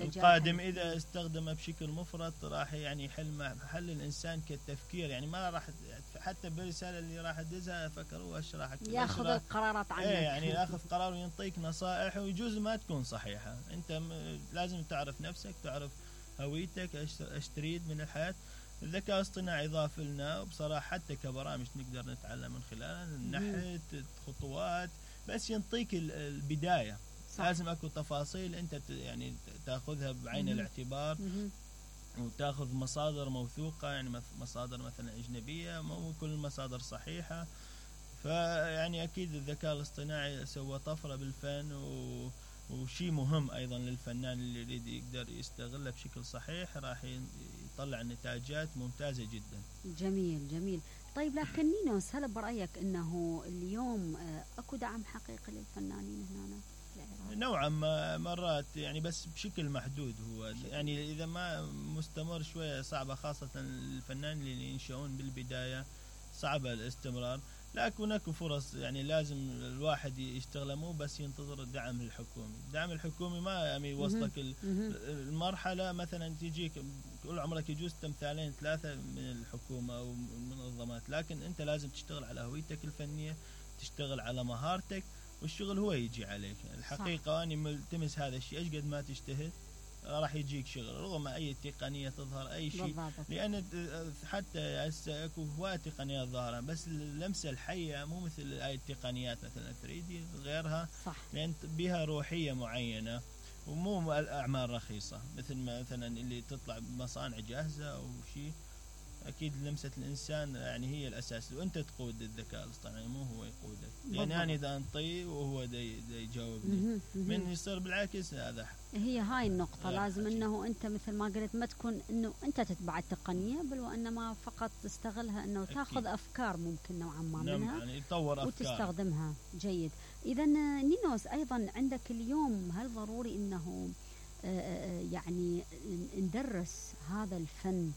القادم إذا استخدمه بشكل مفرط راح يعني يحل محل الإنسان كالتفكير، يعني ما راح حتى بالرسالة اللي راح يدزها فكر هو ايش راح ياخذ القرارات عنك. يعني ياخذ قرار وينطيك نصائح ويجوز ما تكون صحيحة. انت لازم تعرف نفسك، تعرف هويتك، ايش تريد من الحياة. الذكاء الاصطناعي ضاف لنا وبصراحة حتى كبرامج نقدر نتعلم من خلالها نحت خطوات، بس ينطيك البداية. صح. لازم اكو تفاصيل انت يعني تاخذها بعين الاعتبار وتاخذ مصادر موثوقة، يعني مصادر مثلا أجنبية، مو كل المصادر صحيحة. فيعني أكيد الذكاء الاصطناعي سوى طفرة بالفن وشيء مهم أيضا للفنان اللي يريد يقدر يستغله بشكل صحيح راح يطلع نتاجات ممتازة جدا. جميل جميل. طيب لكن نينوس، هل برأيك أنه اليوم أكو دعم حقيقي للفنانين هنا؟ نوعا ما مرات يعني بس بشكل محدود. هو يعني إذا ما مستمر شوية صعبة، خاصة الفنان اللي ينشؤون بالبداية صعبة الاستمرار. لكن هناك فرص، يعني لازم الواحد يشتغل مو بس ينتظر الدعم الحكومي. الدعم الحكومي ما يعني يوصلك المرحلة مثلا تجيك كل عمرك يجوز تمثالين 3 من الحكومة أو من المنظمات، لكن أنت لازم تشتغل على هويتك الفنية، تشتغل على مهارتك، والشغل هو يجي عليك. الحقيقة أنا ملتمس هذا الشيء، أيش قد ما تجتهد راح يجيك شغل رغم أي تقنية تظهر أي شيء. لأن حتى هسه اكو هواية تقنيات ظاهرة، بس اللمسة الحية مو مثل أي التقنيات مثلا 3D غيرها. صح. لأن بها روحية معينة ومو الأعمال رخيصة مثل مثلا اللي تطلع بمصانع جاهزة أو شيء. أكيد لمسة الإنسان يعني هي الأساس، وأنت تقود الذكاء الاصطناعي مو هو يقودك. يعني أنا إذا أنطي وهو دا يجاوبني من يصير بالعكس هذا. هي هاي النقطة، لازم أنه أنت مثل ما قلت ما تكون أنه أنت تتبع التقنية، بل وإنما فقط تستغلها أنه تأخذ أفكار ممكن نوعا ما منها يعني يطور أفكار وتستخدمها. جيد. إذا نينوس أيضا عندك اليوم هل ضروري أنه يعني ندرس هذا الفن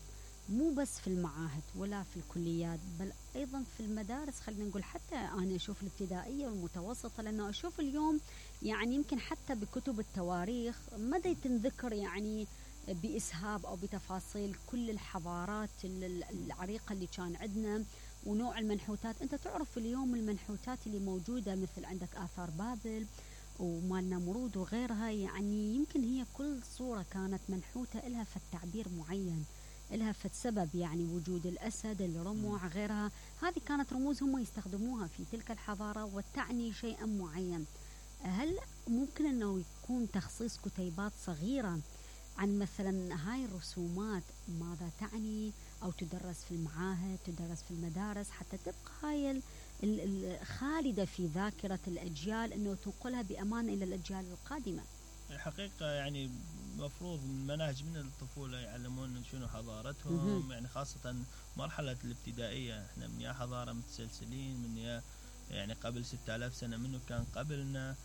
مو بس في المعاهد ولا في الكليات، بل أيضا في المدارس؟ خلينا نقول حتى أنا أشوف الابتدائية والمتوسطة، لأنه أشوف اليوم يعني يمكن حتى بكتب التواريخ ما تنذكر يعني بإسهاب أو بتفاصيل كل الحضارات العريقة اللي كان عندنا ونوع المنحوتات. أنت تعرف اليوم المنحوتات اللي موجودة مثل عندك آثار بابل ومال نمرود وغيرها، يعني يمكن هي كل صورة كانت منحوتة إلها في التعبير معين، إلها في السبب، يعني وجود الأسد، الرمح، غيرها. هذه كانت رموز هم يستخدموها في تلك الحضارة وتعني شيئا معين. هل ممكن أنه يكون تخصيص كتيبات صغيرة عن مثلا هاي الرسومات ماذا تعني، أو تدرس في المعاهد، تدرس في المدارس، حتى تبقى هاي خالدة في ذاكرة الأجيال، أنه تنقلها بأمان إلى الأجيال القادمة؟ الحقيقة يعني مفروض المناهج من الطفولة يعلمون شنو حضارتهم، يعني خاصة مرحلة الابتدائية. احنا من يا حضارة متسلسلين، من يا يعني قبل 6000 سنة منه كان قبلنا.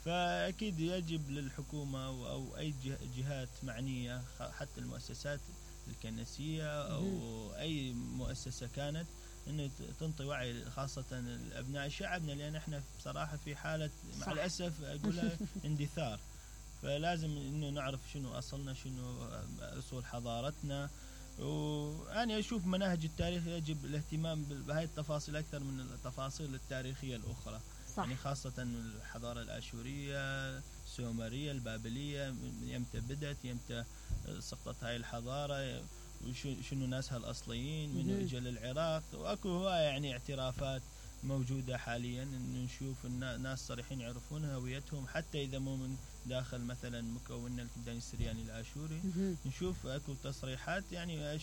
فأكيد يجب للحكومة أو أي جهات معنية، حتى المؤسسات الكنسية أو أي مؤسسة كانت، أن تنطي وعي خاصة الأبناء شعبنا، لأن احنا بصراحة في حالة مع الأسف أقولها اندثار. فلازم إنه نعرف شنو أصلنا، شنو أصول حضارتنا. وأنا أشوف مناهج التاريخ يجب الاهتمام بهاي التفاصيل أكثر من التفاصيل التاريخية الأخرى. صح. يعني خاصة الحضارة الآشورية، السومرية، البابلية، يمتى بدأت، يمتى سقطت هاي الحضارة، وشنو ناسها الأصليين، من إجا للعراق. وأكو هواية يعني اعترافات موجودة حاليا، إن نشوف الناس صريحين يعرفون هويتهم حتى إذا مو من داخل مثلا مكوننا الكلداني السرياني الآشوري. نشوف أكو تصريحات، يعني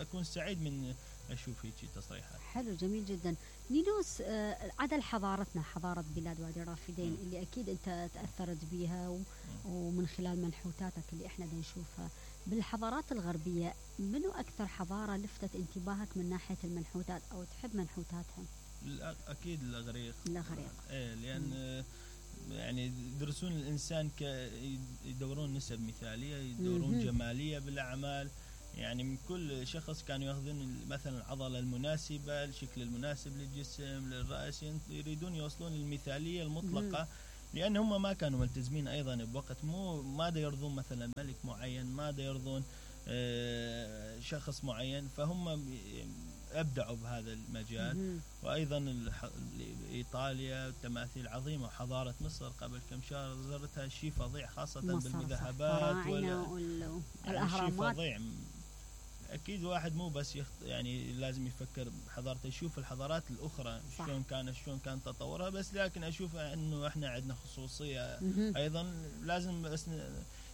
أكون سعيد من أشوف هيك تصريحات. حلو، جميل جدا. نينوس، عدل حضارتنا، حضارة بلاد وادي الرافدين اللي أكيد أنت تأثرت بيها ومن خلال منحوتاتك اللي إحنا نشوفها بالحضارات الغربية، منو أكثر حضارة لفتت انتباهك من ناحية المنحوتات أو تحب منحوتاتها؟ أكيد الإغريق. إيه، لأن يعني يدرسون الإنسان يدورون نسب مثالية، يدورون جمالية بالأعمال. يعني من كل شخص كانوا ياخذون مثلا العضلة المناسبة، الشكل المناسب للجسم، للرأس، يريدون يوصلون للمثالية المطلقة لان هم ما كانوا ملتزمين ايضا بوقت، ما دا يرضون مثلا ملك معين، ما دا يرضون شخص معين، فهم ابدعوا بهذا المجال. وايضا ايطاليا تماثيل عظيمه، وحضاره مصر قبل كم شهر زرتها، شيء فظيع خاصه بالمذهبات والاهرامات، شيء فظيع. اكيد واحد مو بس يعني لازم يفكر بحضارته، يشوف الحضارات الاخرى شلون كان تطورها، بس لكن اشوف انه احنا عندنا خصوصيه ايضا لازم بس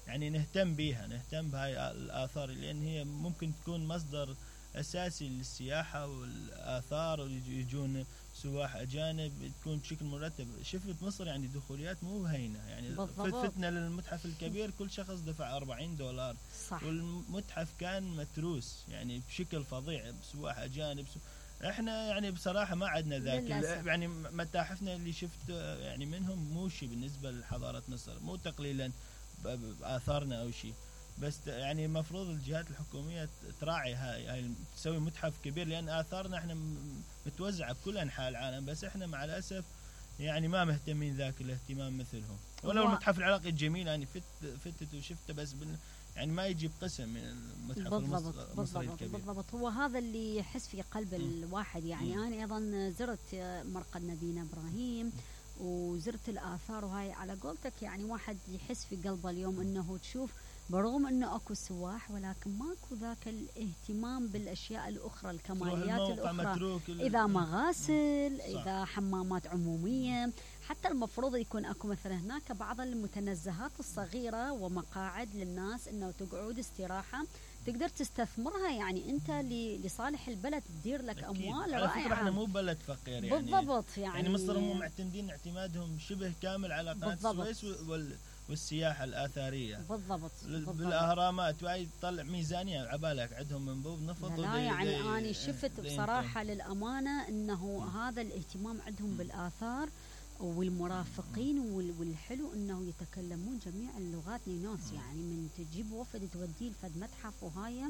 يعني نهتم بها، نهتم بهاي الاثار، لان هي ممكن تكون مصدر اساسي للسياحه والاثار، ويجون سواح اجانب، تكون بشكل مرتب. شفت مصر يعني دخوليات مو هينه، يعني فتنا للمتحف الكبير كل شخص دفع $40، صح. والمتحف كان متروس يعني بشكل فظيع بسواح اجانب. احنا يعني بصراحه ما عندنا ذاك، يعني متاحفنا اللي شفت يعني منهم مو شيء بالنسبه لحضاره مصر، مو تقليلا باثارنا او شيء، بس يعني المفروض الجهات الحكوميه تراعي هاي تسوي متحف كبير، لان اثارنا احنا متوزعه بكل انحاء العالم، بس احنا مع الاسف يعني ما مهتمين ذاك الاهتمام مثلهم. ولو المتحف العراقي الجميل يعني فتت وشفته، بس يعني ما يجي بقسم من المتحف المصري الكبير. بالضبط، هو هذا اللي يحس في قلب الواحد. يعني انا ايضا زرت مرقد نبينا ابراهيم وزرت الاثار، وهاي على قولتك يعني واحد يحس في قلبه اليوم انه تشوف برغم انه اكو سواح، ولكن ماكو ذاك الاهتمام بالاشياء الاخرى، الكماليات الاخرى، اذا مغاسل، اذا حمامات عموميه، حتى المفروض يكون اكو مثلا هناك بعض المتنزهات الصغيره ومقاعد للناس انه تقعد استراحه تقدر تستثمرها، يعني انت لصالح البلد تدير لك اموال رائعه. على فكره احنا مو بلد فقير يعني، بالضبط، يعني مصر هم معتمدين اعتمادهم شبه كامل على قناه السويس والسياحه الاثاريه. بالضبط. بالاهرامات، وهي تطلع ميزانيه عبالك عندهم منبوب نفط. لا يعني انا شفت بصراحه للامانه انه هذا الاهتمام عندهم بالاثار والمرافقين والحلو انه يتكلمون جميع اللغات نينوس. يعني من تجيب وفد توديه لفد متحف وهاي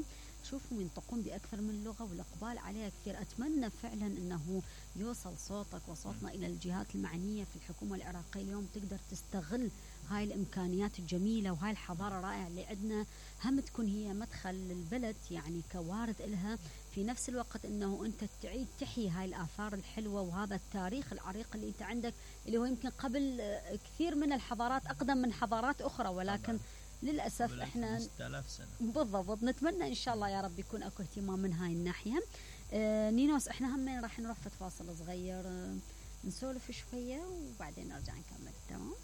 تشوفهم ينطقون باكثر من لغه والاقبال عليها كثير. اتمنى فعلا انه يوصل صوتك وصوتنا الى الجهات المعنيه في الحكومه العراقيه اليوم، تقدر تستغل هاي الامكانيات الجميله وهاي الحضاره الرائعه اللي عندنا، هم تكون هي مدخل للبلد يعني كوارد إلها، في نفس الوقت انه انت تعيد تحيي هاي الاثار الحلوه وهذا التاريخ العريق اللي انت عندك، اللي هو يمكن قبل كثير من الحضارات اقدم من حضارات اخرى، ولكن للاسف احنا 5000 سنه. بالضبط. نتمنى ان شاء الله يا رب يكون اكو اهتمام من هاي الناحيه. نينوس احنا هم راح نروح فاصل صغير نسولف شويه وبعدين نرجع نكمل. تمام.